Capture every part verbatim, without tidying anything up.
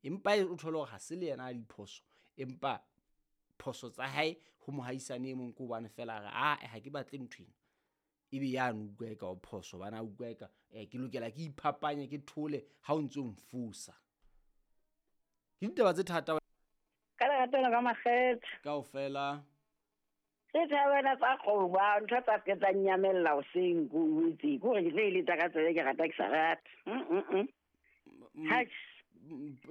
Empa o thole hore ha se le yena a diphoso, empa phoso tsa hae ho mohaisane e mong ke hobane fela a re ae ha ke batle ntho ena. Ebe yane o utlwa eka o phoso hobane a utlwa eka ke lokela ke iphapanye ke thole ha o ntso mfosa. Ke ditaba tse thata. Ka lerato ka makgethe. Kaofela. Ke thabela tsa kgoba ntho tsa ke tsa nyamella hoseng ko itse ko re ke tlo eletsa ka tsebe ke rata ke sa rata. Mm mm. Ha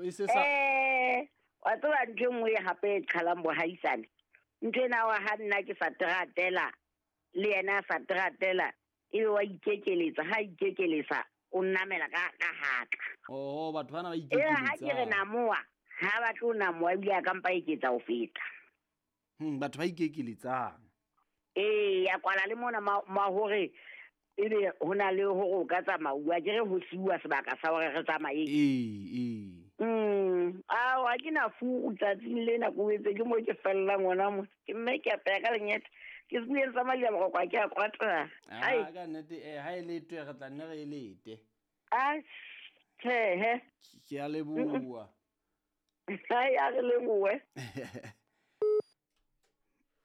e se sa eh wa tseba ntho e nngwe hape e qhalang bohaisane. Ntho ena wa ha nna ke sa tratela le yena a sa tratela ebe wa ikekeletsa ha ikekeletsa o nnamela ka ka haka. Oh batho bana ba Eh ha ikekeletsa. ke re namoa ha ba tlo namoa ebile a ka mpa eketsa ho feta. Hmm batho ba ikekeletsang. Eh ya kwala le mona ma, ma hore ebe hona le hore o ka tsamauwa ke re ho siuwa sebaka sa hore re tsamaye. Eh eh. Mm a wa ke na fu tsatsing lena ko etse ke mo ke fellang hona mo. Ke mme ke apeya ka lenyete. Ke se tsa madi a boroko ke a kwata. Ai ka nnete eh ha e letwe re tla nne re e lete. A tjhe. Ke a leboha. Ai a re lebohe.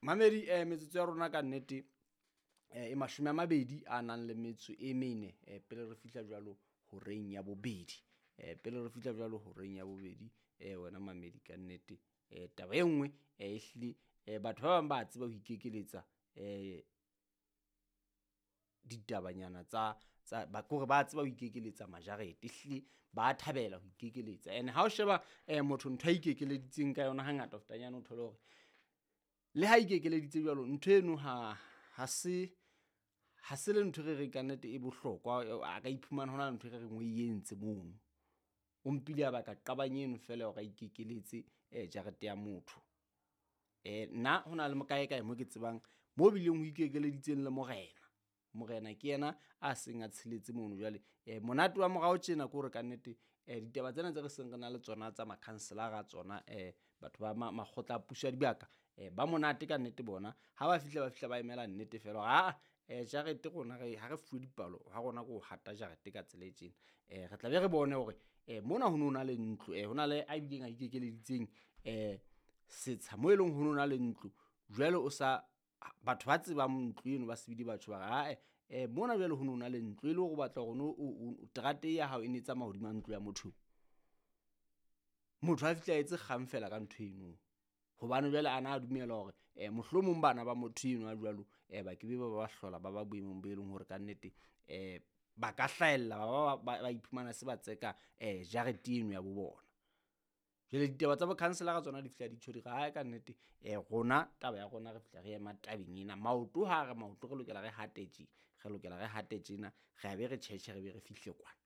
Mamedi eh metsotso ya rona ka nnete eh e mashome a mabedi a nang le metso e mene eh pele re fihla jwalo horeng ya bobedi. Eh pele re fihla jwalo horeng ya bobedi eh wena mamedi ka nnete eh taba e nngwe eh ehlile eh batho ba bang ba tseba ho ikekeletsa eh ditabanyana tsa tsa ba kore ba tseba ho ikekeletsa majarete ehlile ba thabela ho ikekeletsa. Ene ha o sheba eh motho ntho a ikekeleditseng ka yona hangata ho fetanyana o thole hore le ha ikekeleditse jwalo ntho eno ha ha se ha se le ntho re re ka nnete e bohlokwa a ka iphumana hona le ntho re reng o e entse mono. O mpile a baka qabang eno fela hore a ikekeletse eh jarete ya motho. Eh nna hona le mokae kae mo ke tsebang mo bileng ho ikekeleditseng le morena. Morena ke yena a seng a tsheletse mono jwale. Eh monate wa morao tjena ke hore ka nnete eh ditaba tsena tse re seng re na le tsona tsa makhanselara tsona eh batho ba makgotla a puso ya dibaka eh ba monate ka nnete bona ha ba fihla ba fihla ba emela nnete fela hore aa eh jarete rona re ha re fuwe dipalo ha rona ko hata jarete ka tsela e tjena. Eh re tla be re bone hore eh mona ho no na le ntlo eh hona le a bileng a ikekeleditseng eh setsha mo e leng ho no na le ntlo jwale o sa batho ba tsebang ntlo eno ba sebidi batho ba re ae eh mona jwale ho no na le ntlo e le hore o batla hore o terate ya hao e ne tsamaya hodima ntlo ya motho. Motho a fihla etse kgang fela ka ntho eno hobane jwale ana a dumela hore eh mohlomong bana ba motho eno a jwalo eh ba ke be ba ba hlola ba ba boemong bo e leng hore ka nnete eh ba ka hlahella ba ba ba iphumana se ba tseka eh jarete eno ya bo bona. Jwale ditaba tsa bokhanselara tsona di fihla di tjho di re hae ka nnete eh rona taba ya rona re fihla re ema tabeng ena maoto ha re maoto re lokela re hate tje re lokela re hate tjena re a be re tjhetjhe re be re fihle kwana.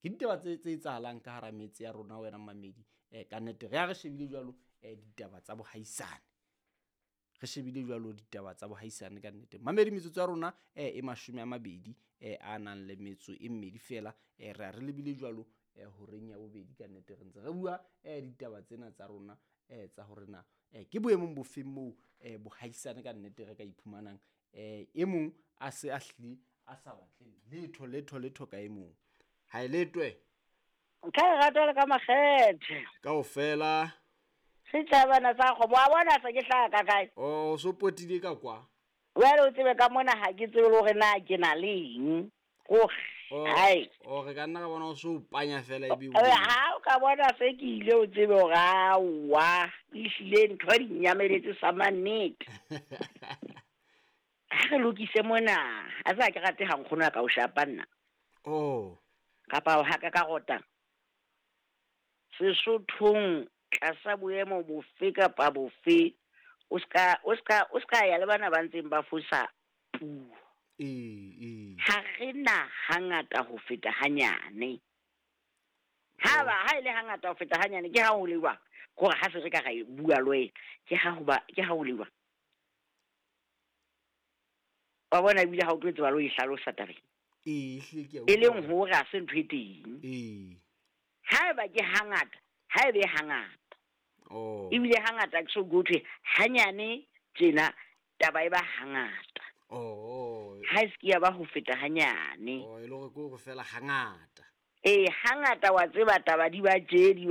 Ke ditaba tse tse etsahalang ka hara metse ya rona wena mamedi eh ka nnete re a re shebile jwalo eh ditaba tsa bohaisane. Re shebile jwalo ditaba tsa bohaisane ka nnete. Mamedi metsotso ya rona eh e mashome a mabedi eh a nang le metso e mmedi fela eh re a re lebile jwalo eh horeng ya bobedi ka nnete re ntse re bua eh ditaba tsena tsa rona eh tsa hore na eh ke boemong bofeng moo eh bohaisane ka nnete re ka iphumanang eh e mong a se a hlile a sa batle letho letho letho ka e mong. Ha e letwe. Nka e rata le ka makgethe. Kaofela. Setjhabana sa kgomo wa bona se ke hlaha ka kae? Oh so potile ka kwa. Jwale o tsebe ka mona ha ke tsebe le hore na ke na le eng. Gore hai. O re ka nna ka bona o so panya fela ebe o. Ha o ka bona se ke ile o tsebe hore aowa ehlile ntho di nyameletse sa mannete. Ha re lokise mona a sa ke rate ha nkgono ya ka o shapa nna. Oh. Kapa o haka ka rota. Sesothong tlasa boemo bofe kapa bofe o ska o ska o ska ya le bana ba ntseng ba fosa puo. Eh eh. Ha re na hangata ho feta hanyane. Ha ba ha ile hangata ho feta hanyane ke ha ho lewa gore ha se re ka ra bua le ke ha ho ba ke ha ho lewa. Wa bona ebile ha o tlo tseba lo e hlalosa tabeng. Eh hle ke e leng hore ha se ntho e teng. Eh. Ha eba ke hangata, ha ebe hangata. Oh. Ebile hangata ke so go thwe hanyane tjena taba e ba hangata. Oh. Ha e se ke ya ba ho feta hanyane. Oh, e le hore ke hore fela hangata. Eh hangata wa tseba taba di ba tje di